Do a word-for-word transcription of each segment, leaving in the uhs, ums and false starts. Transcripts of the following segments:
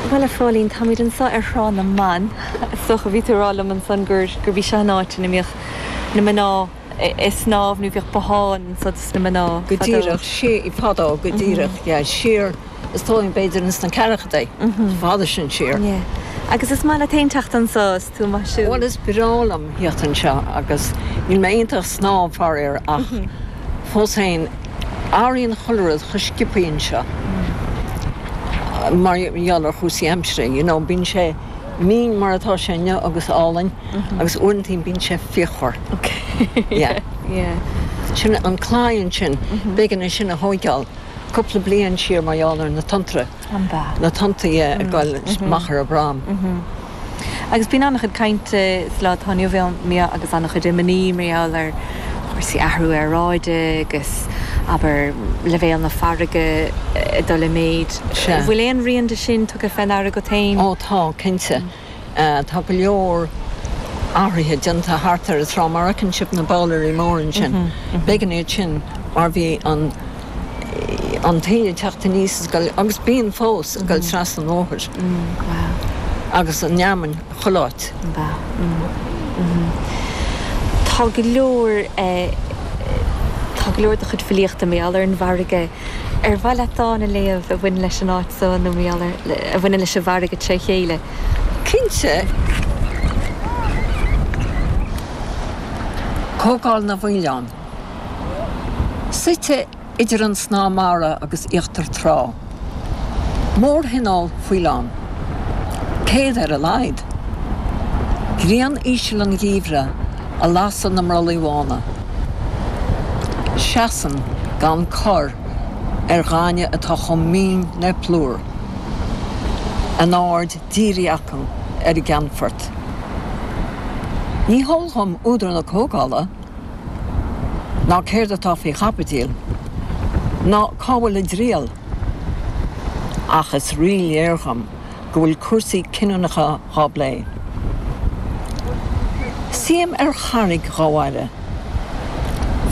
Bhuel a Phóilín, táimid anseo ar Thrá na mBan. Is dócha bhí tú ag rá liom ansan gur gur bhí seo an áit ina mbíodh na mná ag snámh nó bhíodh botháin anseo dos na mná. Go díreach sé fadó go díreach yeah, siar is dóigh b'fhéidir ins na ceathrachaidí fada sin siar. Yeah. Agus is maith leat féin teacht anseo is tú maith siúl. Bhuel is breá liom theacht anseo agus níl mé iontach snámh faraor ach fós féin athraíonn chuile rud chomh sciobtha anseo. Mar gheall ar chúrsaí aimsire, you know, bíonn sé mín mar atá sé inniu agus álainn agus uaireanta bíonn sé fíochmhar. Yeah. Yeah. Sin an claí ansin, b'éigean é sin a thógáil cúpla bliain siar mar gheall ar na tonntra. An ba. Na tonntaí ag goil amach ar an bprom. Agus bíonn an-chuid cainte sa lá atá inniu ann agus an-chuid imní mar gheall ar chúrsaí athrú aeráide agus abair leibhéal na farraige ag dul i méid. Sea. Bhfuil aon rian de sin tugtha fé ndeara agat féin? Ó tá, cinnte. Tá go leor athruithe déanta thart ar an trá mar a fheiceann sibh na báiléirí móra ansin. B'éigean iad sin mar bhí an an taoille ag teacht aníos is ag goil, agus bíonn fós, ag goil trasna an bhóthair. Agus an fheamainn chuile áit. Tá go leor tá go leor de chuid filíochta mar gheall ar an bhfarraige. Ar mhaith leat dán a léamh a bhaineann leis an áit so nó mar gheall ar a bhaineann leis an bhfarraige tré chéile? Cinnte. Comhdháil na bhFaoileán. Suite idir an snáth mara agus íochtar trá. Mórthionól faoileán. Céad ar a laghad. Grian íseal an gheimhridh a lasadh na mbrollaí bhána. Seasann gan cor ar ghaineamh atá chomh mín le plúr. A n-aird dírithe acu ar an gceannfort. Ní heol dhom údar na comhdhála, ná céard atá faoi chaibidil, ná cá bhfuil a dtriall, ach is ríléir dhom go bhfuil cúrsaí cinniúnacha dhá bplé. Suím ar charraig dhá bhfaire,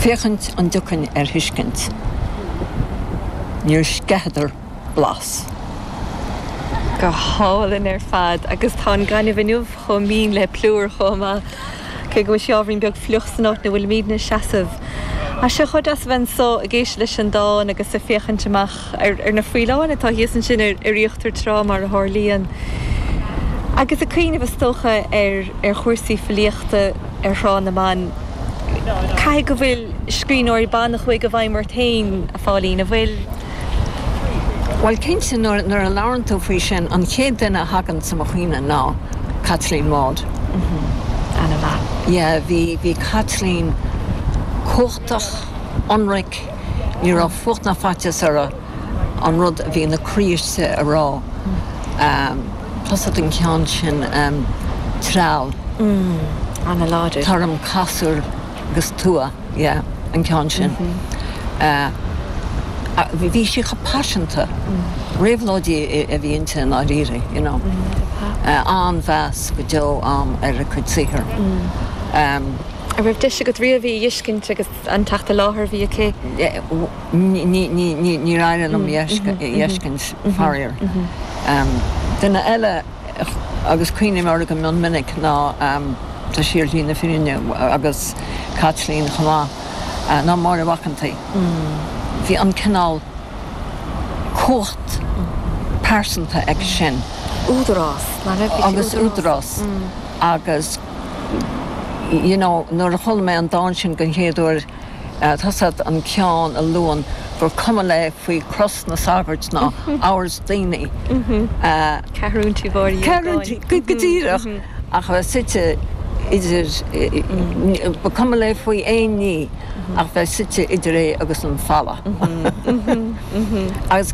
féachaint an dtiocfainn ar thuiscint. Níor sceitheadar blas. Go hálainn ar fad agus tá an gaineamh inniu chomh mín le plúr chomh maith, cé go bhfuil sé ábhairín beag fliuch san áit ina bhfuilimidne ag seasamh. Tá sé chomh deas a bheith anso ag éisteacht leis an dán agus ag féachaint amach ar na faoileáin atá thíos ansin ar íochtar trá mar a tharlaíonn. Agus ag cuimhneamh is dócha ar ar chúrsaí filíochta ar Thrá na mBan, caithfidh go bhfuil scríbhneoirí ban a chuaigh i bhfeidhm ort féin, a Phóilín, an bhfuil? Bhuel, cinnte, nuair a labhrann tú faoi sin, an chéad duine a thagann sa mo chuimhne ná Caitlín Maude. Ana-mhaith. Yeah, bhí, bhí Caitlín cumhachtach, ionraic, ní raibh fuacht ná faitíos uirthi an rud a bhí ina croí istigh a rá. Tá's agat an ceann sin, Treall. Ana-láidir. Tá orm casúr agus tua, yeah, an ceann sin. Bhí sí chomh paiseanta. Réabhlóidí a bhí inti i ndáiríre, you know. An-mheas go deo a'm ar a cuid saothair. An raibh deis agat riamh í a fheiscint agus an teacht i láthair a bhí aici? Níor éirigh liom í a fheiscint, faraor. Duine eile, agus cuimhním uirthi go mion minic, ná, tá sí ar shlí na fírinne, agus Caitlín chomh maith, ná Máire Mhac an tSaoi. Bhí an cineál cumhacht pearsanta aici sin. Údarás, nach raibh? Agus údarás. Agus, you know, nuair a chuala mé an dán sin den chéad uair, Tá's agat an ceann a luann gur cuma léi faoi chros na sagart ná amhras daoine. Ceathrún tí Mháire Uí Ógáin. Go díreach. Ach a bheith suite idir, ba cuma léi faoi aon ní ach bheith suite idir é agus an falla. Agus.